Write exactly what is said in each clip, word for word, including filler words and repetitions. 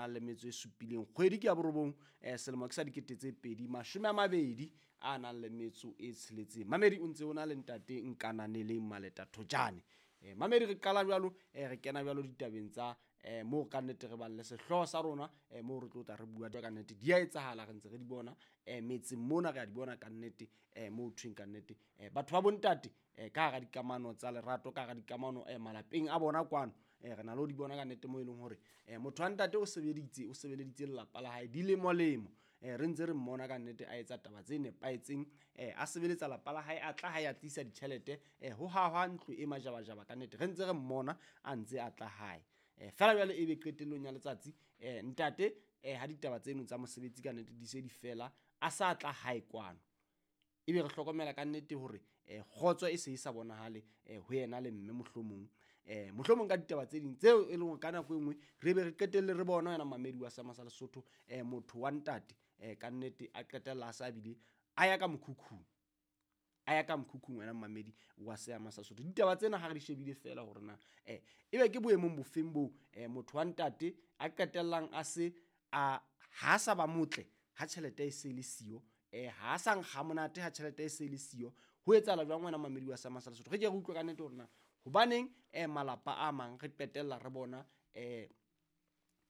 nang le metso e supileng kgwedi ke ya borobong eh selemo ke sa dikete tse pedi mashome a mabedi a nang le metso e tsheletseng. Mamedi o ntse o na le ntate Nkananeleng Maleta Thojane. Eh mamedi re qala jwalo eh re kena jwalo ditabeng tsa eh mo ka nnete re bang le sehlooho sa rona eh mo re tlo tla re bua ka nnete di a etsahala re ntse re di bona eh metseng mona re a di bona ka nnete eh mo thweng ka nnete eh batho ba bontate eh ka hara dikamano tsa lerato ka hara dikamano eh malapeng a bona kwano eh re na le ho di bona ka nnete mo e leng hore eh motho wa ntate o sebeditse o sebeleditse lelapa la hae dilemo lemo eh re ntse re mmona ka nnete a etsa taba tse nepahetseng eh a sebeletsa lapa la hae a tla hae a tlisa ditjhelete eh ho hahwa ntlo e majabajaba ka nnete re ntse re mmona a ntse a tla hae. Eh fela jwale ebe qetellong ya letsatsi eh ntate eh ha ditaba tseno tsa mosebetsi ka nnete di se di fela a sa tla hae kwano ebe re hlokomela ka nnete hore eh kgotso e se e sa bonahale eh ho yena le mme mohlomong eh mohlomong ka ditaba tse ding tseo e leng hore ka nako e nngwe re be re qetelle re bona yena mamedi wa Seema sa Lesotho eh motho wa ntate eh ka nnete a qetella a sa bile a ya ka mokhukhung a ya ka mokhukhung wena mamedi wa Seema sa Lesotho. Ditaba tsena ha re di shebile fela hore na eh ebe ke boemong bofeng bo eh motho wa ntate a qetellang a se a ha sa ba motle ha tjhelete e se le siyo eh ha sa nkga monate ha tjhelete e se le siyo ho etsahala jwang wena mamedi wa Seema sa Lesotho. Re ke re utlwe ka nnete hore na hobaneng eh malapa a mang re qetella re bona eh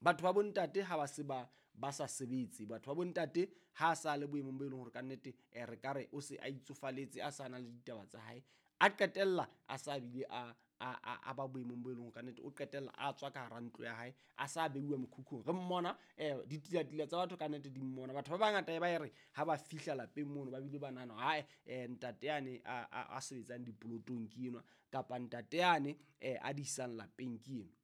batho ba bontate ha ba se ba ba sa sebetse batho ba bontate ha sa le boemong bo e leng hore ka nnete eh re ka re o se a itsofaletse a sa na le ditaba tsa hae a qetella a sa bile a a a ba boemong bo e leng hore ka nnete o qetella a tswa ka hara ntlo ya hae a sa beuwa mokhukhung re mmona eh ditilatila tsa batho ka nnete di mmona batho ba bangata e ba e re ha ba fihla lapeng mono ba bile ba nahana hae eh ntate yane a a sebetsang dipolotong ke enwa kapa ntate yane eh a disang lapeng ke enwa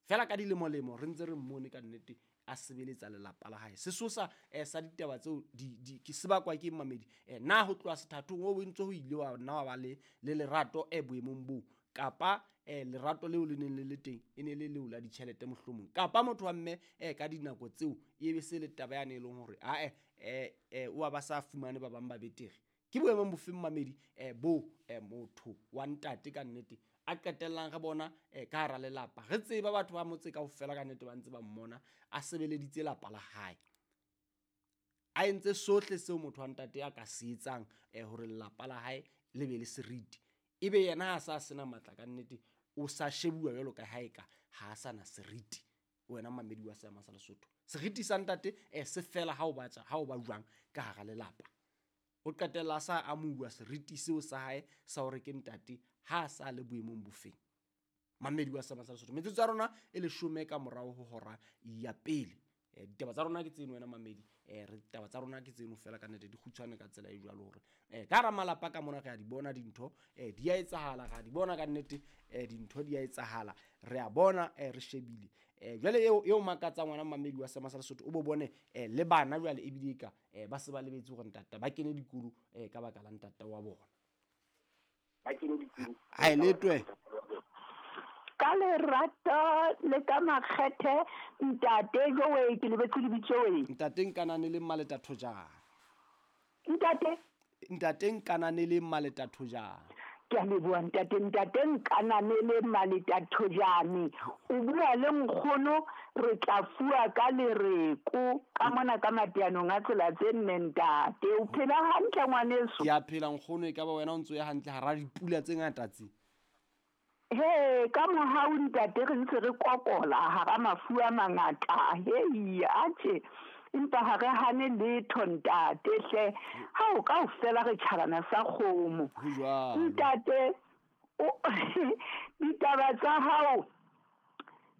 fela ka dilemo lemo re ntse re mmone ka nnete a sebeletsa lelapa la hae. Sesosa eh sa ditaba tseo di di ke sebakwa ke mamedi eh na ho tloha sethathong o bontse ho ile wa nna wa ba le le lerato e boemong bo kapa eh lerato leo le neng le le teng e ne le leo la ditjhelete mohlomong kapa motho wa mme eh ka dinako tseo e be se le taba yane e leng hore a eh eh o ba sa fumane ba bang ba betere. Ke boemong bofeng mamedi eh bo eh motho wa ntate ka nnete a qetellang re bona eh ka hara lelapa re tseba batho ba motse kaofela ka nnete ba ntse ba mmona a sebeleditse lapa la hae a entse sohle seo motho wa ntate a ka se etsang eh hore lelapa la hae le be le seriti ebe yena ha sa sena matla ka nnete o sa shebuwa jwalo ka hae ka ha sa na seriti wena mamedi wa Seema sa Lesotho. Seriti sa ntate eh se fela ha o batla ha o ba jwang ka hara lelapa o qetella sa amuwa seriti seo sa hae sa hore ke ntate ha sa le boemong bofeng. Mamedi wa Seema sa Lesotho metsotso ya rona e leshome ka morao ho hora ya pele eh ditaba tsa rona ke tseno wena mamedi eh re ditaba tsa rona ke tseno fela ka nnete di kgutshwane ka tsela e jwalo hore eh ka hara malapa ka mona re a di bona dintho eh di a etsahala re a di bona ka nnete eh dintho di a etsahala re a bona eh re shebile eh jwale eo eo makatsang wena mamedi wa Seema sa Lesotho o bo bone eh le bana jwale e bile ka eh ba se ba lebetse hore ntata ba kene dikolo eh ka baka la ntata wa bona ba kene dikolo ha e letwe ka lerato le ka makgethe ntate jowe ke lebetse lebitso we ntate Nkananeleng Maleta Thojane ntate ntate Nkananeleng Maleta Thojane ke a leboha ntate ntate Nkananeleng Maleta Thojane o bua le nkgono re tla fuwa ka lereko ka mona ka mateanong a tsela tse nne ntate o phela hantle ngwaneso ke a phela nkgono e ka ba wena o ntso ya hantle hara dipula tse ngata tse he ka mohau ntate re ntse re kokola hara mafu a mangata hei atjhe empa ha re hane letho ntate hle ha o kaofela re tjhabana sa kgomo ntate ditaba tsa hao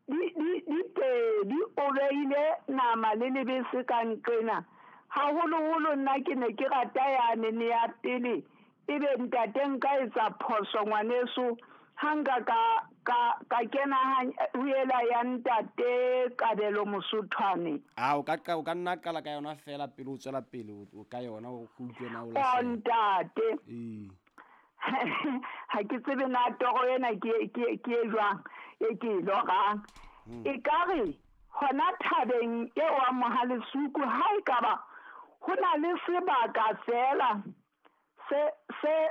di di di pedi o beile nama le lebese ka nqena haholoholo nna ke ne ke rata yane ne ya pele ebe ntate nka etsa phoso ngwaneso hanga ka ka ka kena ho ela ya ntate Kabelo Mosothwane a o ka o ka nna qala ka yona fela pele o tswela pele o ka yona o utlwe na o la ntate ee ha ke tsebe na toro ena ke ke ke jwang e ke lorang e ka re hona thabeng e wa Mohalesuku ha e ka ba ho na le sebaka fela se se